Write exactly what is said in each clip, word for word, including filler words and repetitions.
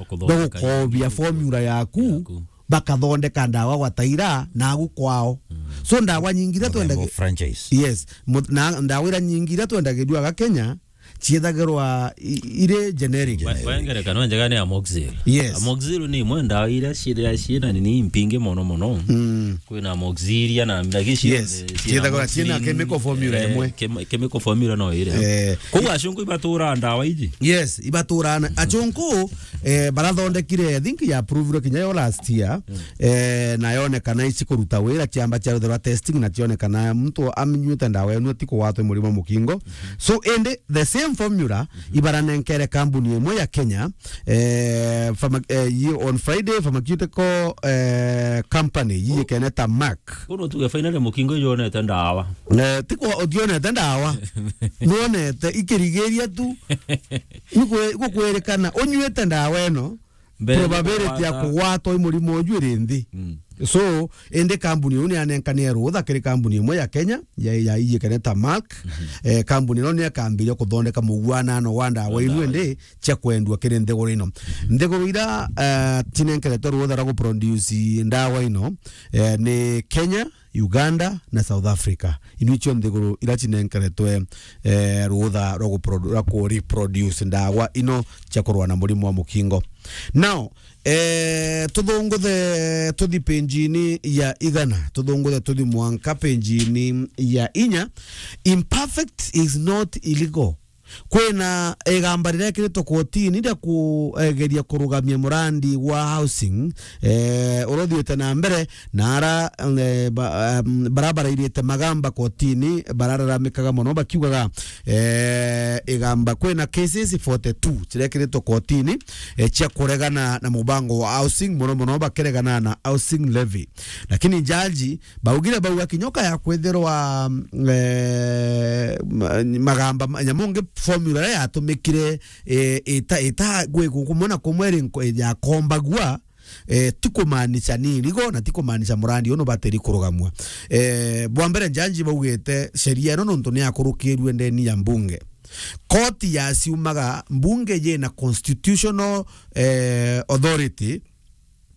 Kuthondeka bagukoobia formula yaku, yaku. Bakathondeka ndawa gwataira nagu kwao. So ndawa nyingi iria Muthemba twendagia franchise. Yes, mu-, na ndawa iria nyingi iria twendagirua aga Kenya, ciethagirwa i-, iri generic. Wa-, wa ngerekano njega ni amoxil. Yes. Amoxil ni imwe ndawa iria ciria ciina nini impingi mono mono. Mm. Kwina amoxil iria na, lakini cionthe, yes, ciina ciethagirwa ciina amoxil, chemical formula eh, imwe. Chem-, chemical formula no iria. Eh. Kou acunku ibatura ndawa iji? Yes, ibatura na. Acunku, eh, barathondekire, I think ya approval kinya yo last year. Mm. Eh, na yonekana ici kuruta wira, ciamba ciarutherwa testing na cionekana muntu aminywite ndawa enu ti kugwatwa murimo mukingo. Mm-hmm. So, indi the same formula, mm-hmm, ibaranenkere kambuni imwe ya Kenya, eh, pharma-, eh, yi-, on Friday, pharmaceutical, eh, company, yiyikene ta Merck. Kuno tuge finally mukingo ijonete ndawa. Eh, ti kwa utionete ndawa. Nuonete ikirigiria tu. Ni kwe-, gukwirikana unywite ndawa ino, mbere probability ya kugwata, kugwatwa i murimo uju iri nthi. Mm. So, indi kambuni iu ni yanenkanire rutha kiri kambuni imwe ya Kenya, ya, ya iyikene ta Merck. Mhm. Eh, kambuni ino ni yakambiria kuthondeka mugwanano wa ndawa inu, ndawa indi cia kwendua kiri nthiguru ino. Nthiguru ira, eh, cinenkeretwe rutha rwa guproduce ndawa ino, eh, ni Kenya, Uganda na South Africa. Inu icio nthiguru ira cinenkeretwe, eh, rutha rwa guprodu-, rwa kureproduce ndawa ino cia kurwa na murimo wa mukingo. Now, eh, tuthunguthe tuthi page-ini ya igana, tuthunguthe tuthi mwanka page-ini ya inya. Imperfect is not illegal. Kwina igamba rirekiritwe kotini ria kugeria kurugamia murandi wa housing, eh, uria uthiite na mbere, na ara, eh, ba-, um, bara barairite magamba kotini barararamikaga mono bakiugaga, eh, igamba, kwina cases forty-two cirekiritwe kotini, eh, cia kuregana na mubango wa housing, mono mono bakiregana na housing levy. Lakini jaji baugire bauga kinya ukaya kwithirwa, mm, eh, ma-, magamba ma-, nyamu ngi formula iria yatumikire, eh, ita, ita gwi-, gu-, kumwe na kumwe iri nko-, yakombagua, eh, ti kumaanisha ni irigo na ti kumaanisha murandi unu batiri kurugamua. Eh, bwa mbere, jaji baugite sheria ino nontu ni yakurukirue ndeni ya mbunge. Koti yaciumaga, mbunge yina constitutional, eh, authority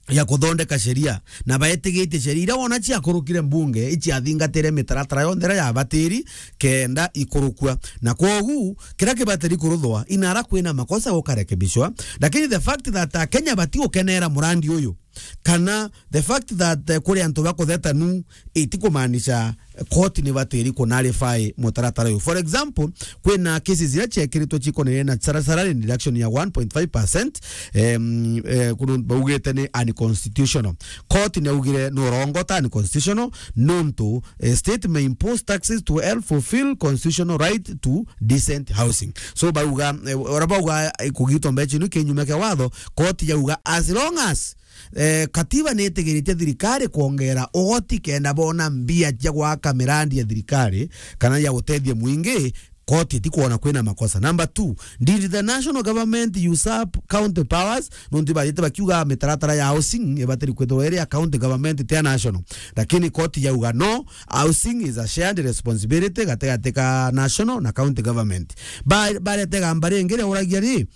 ya kuthondeka sheria, na baetigitie sheria iria wona ciakurukire mbunge, iciathingatire mitaratara yonthe iria yabatiri kenda ikurukua. Na kwogu, kiria kibatiri kuruthwa, inara kwina makosa gukarekebishwa. Lakini the fact that Akenya batigukenera murandi uyu, kana the fact that, eh, kuri antu bakutheta nu, itikumaanisha koti ni batiri kunarify mutaratara uyu. For example, kwina cases iria ciekiritwe cikonainie na sala-, salary reduction ya one point five percent, em, eh, kunu baugite ni unconstitutional. Koti ni augire ni urongota unconstitutional nontu, eh, state may impose taxes to help fulfill constitutional right to decent housing. So bauga, eh, ora bauga, eh, kugitwa mbeca inu kinyume kia watho, koti yauga as long as Eh, katiba ni itigiritie thirikari kwongera ugoti kenda bona mbia cia gwaka mirandi ya thirikari kana ya gutethia mwingi, koti itikwona kwina makosa. Number two, did the national government usurp county powers? Nontu bathite bakiuga mitaratara ya housing ibatiri kwithirwa iri ya county government, ti ya national. Lakini koti yauga no, housing is a shared responsibility gatigati ka national na county government. Ba-, barete gamba ringi riauragia ri,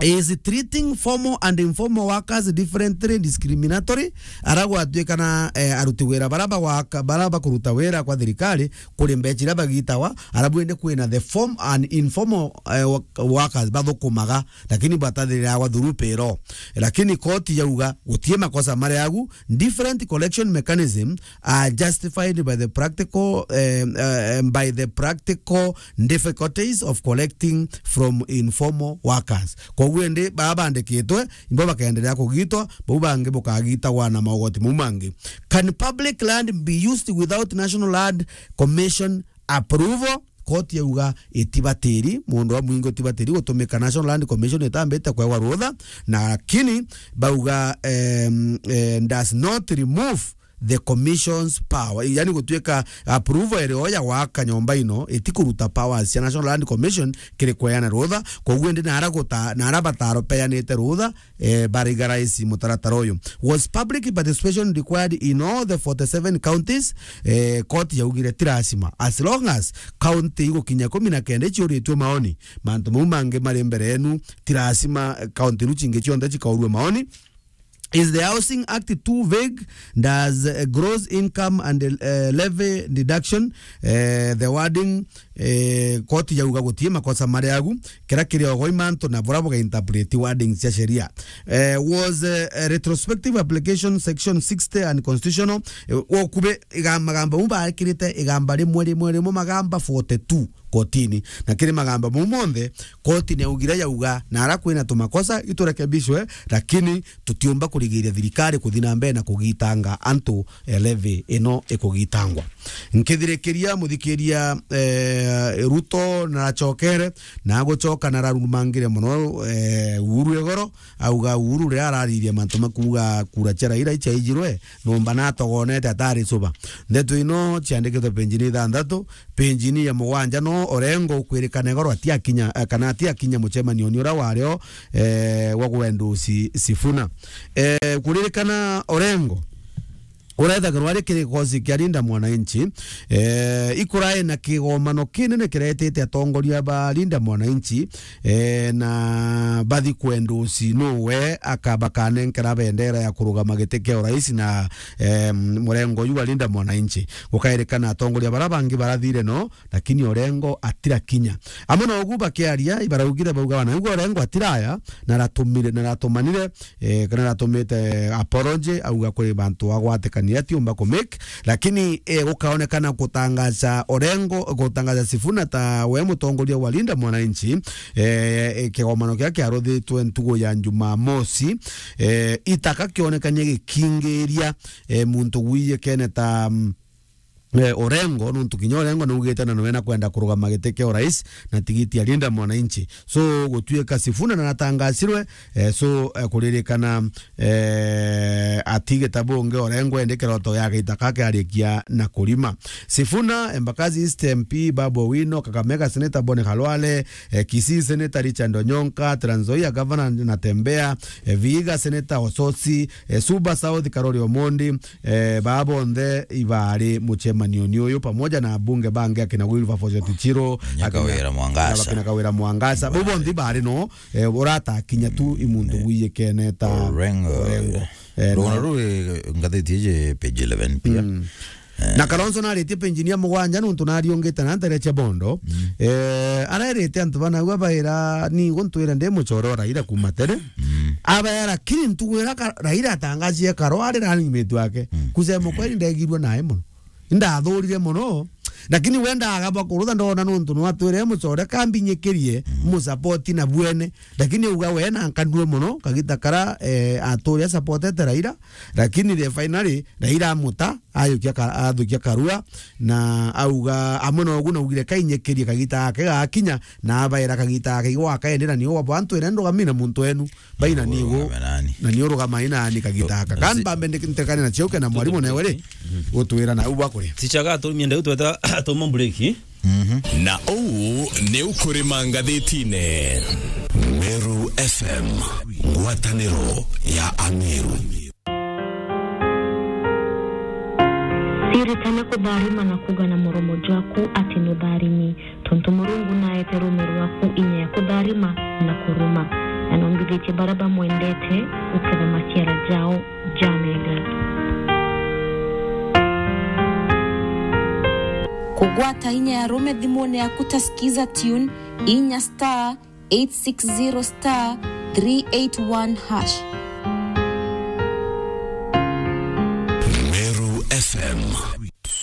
is treating formal and informal workers differently, discriminatory, ara gwatuikana, eh, aruti wira bara bagwaka, bara bakuruta wira kwa thirikari, kuri mbeca iria bagitawa, ara bwende kwina the form and informal, eh, wo-, workers bathukumaga, lakini batathirira gwa through payroll. Lakini koti yauga gutie makosa mari agu, different collection mechanism are justified by the practical, eh, eh, by the practical difficulties of collecting from informal workers. Koguo indi baa bandikitwe, imbo bakaendelea kugitwa, bau bangi bukagitagwa na maugoti mau mangi. Can public land be used without National Land Commission approval? Koti yauga itibatiri, mundu wa mwingi utibatiri gutumika, National Land Commission itambite kwewa rutha, na lakini bauga, em, eh, does not remove the commission's power, yani gutuika approval irio ya gwaka nyomba ino itikuruta powers cia National Land Commission kiri kweana rutha. Koguo indi nara guta-, nara bataro peanite rutha, eh, barigaraisi mutaratara uyu. Was public participation required in all the forty-seven counties? Eh, koti yaugire ti lazima, as long as county igukinya kumi na kenda iciuritue maoni. Mantu mau mangi mari mbere yenu, ti lazima county iru cingi cionthe cikaurue maoni. Is the Housing Act too vague? Does, uh, gross income and, uh, levy deduction, uh, the wording, uh, koti yauga gutii makosa mari agu, kira kiri ogoi mantu na bura buga interpret wording cia sheria. Uh, was, uh, a retrospective application section sixty unconstitutional? Uh, okube igamba, magamba mu baikirite igamba rimwe, rimwe, rimwe, magamba forty-two kotini. Na kiri magamba mau monthe, koti niaugire yauga, nara kwina tumakosa iturekebishwe, lakini tutiumba kurigiria thirikari kuthi na mbere na kugitanga antu, eh, levy ino ikugitangwa. Nkithirikiria muthikiria, eh, Ruto naracokere, na agucoka nararumangire mono, eh, Uhuru igoro, auga Uhuru riria araririe mantu ma kuuga kura cia Raila ichaijirwe, nomba natogonete atari cuba. Ndeto ino ciandikitwe penjini ithanthatu, penjini ya mugwanja no Orengo ukwirikana igoro atiakinya, eh, kana atiakinya mucemanio ni uria wario, eh, wa gwendusi Sifuna. Eh, kuririkana Orengo, urethagirwa ari kiri gikosi kia Linda Mwananchi, eh, ikurae na kigomano kinene kiretete atongoria ba Linda Mwananchi, eh, na bathi kwendusi nuwe akaba kanenkera bendera ya kurugama giti kia urais na, eh, murengo uyu wa Linda Mwananchi. Gukairikana atongoria bara bangi barathire no, lakini Orengo atirakinya. Amwe na ugu bakiaria, ibaraugire bauga, "Wana, ugu Orengo atiraya, na aratumire, na aratumanire, eh, kana aratumite apology, auga kuri bantu agwatikania atiumba ku make." Lakini, eh, gukaonekana gutangaza Orengo, gutangaza Sifuna ta we mutongoria wa Linda Mwananchi, eh, eh, kigomano kiria kiaruthitwe ntugu ya Jumamosi, eh, itaka kionekanie gikingiria, eh, muntu gwiyekene ta, mm, eh, Orengo, nontu kinya Orengo naugite na niwe nakwenda kurugama giti kia urais na tigiti ya Linda Mwananchi. So, gutuika Sifuna na natangasirwe, eh, so, eh, kuririkana, eh, ati gitabu ungi Orengo endi kiroto ya gitaka kiarikia na kurima. Sifuna, Embakasi East M P Babu Owino, Kakamega Senator Boni Khalwale, eh, Kisii Senator Richard Onyonka, Trans Nzoia Governor Natembeya, eh, Vihiga Senator Osotsi, eh, Suba South Karori Omondi, eh, baa bonthe ibaari mucemanioni uyu, pamoja na abunge bangi akina Wilberforce Otichiro, Kawira Mwangaza. Akina Kawira Mwangaza. Bau bonthe ibaari no, eh, uratakinya tu i muntu gwiyekene ta Orengo. Orengo. Eh, rugano na ruu, eh, ngathiti iji page eleven pia. Mm. Eh. Na Kalonzo naritie penjini ya mugwanja nontu nariungite na ntere cia bondo. Mm. Eh, arerite antu bana ua baira ni guntwira ndi mucore o Raila kuma tene. Mm. Abaera, lakini ntugu ira ka-, Raila atangacie karwari rani mitu yake. Mm. Kusema kweli ndegirwe nae mono. Indathurire mono. Lakini we ndagaba kurutha ndona nontu no atwire mucore kambinyikirie, mm, musapoti na bwene. Lakini uga we na nkanue mono, kagita kara, eh, aturi asapotete Raila. Lakini the finally, Raila amuta, ayukia ka-, athukia karua, na auga, amwe na ugu naugire kainyikirie kagita gake gakinya, na abaira kagita gake igwaka ende, na nio wabo antu ene ndugamina muntu enu, baina nigu, na nio rugama ina ni kagita gaka. Kan bambe ntekane na chiuke na mwalimu newe ri, gutwira na ubu akuri. Tichaga atumie ndeu tweta atomo break. Mhm. Na uu ni ukurima ngathitine. Meru F M, ngwataniro ya Ameru. Ciritane kutharima na kuuga na muromo jwaku ati nutharimi, tontu Murungu naete ruume rwaku inya ya kutharima na kuruma, na nombithitie baria bamwendete guketha maciara jao jamega. Kugwata inya ya ruume thimune yaku ta Skiza Tune, inya star eight six zero star three eight one hash.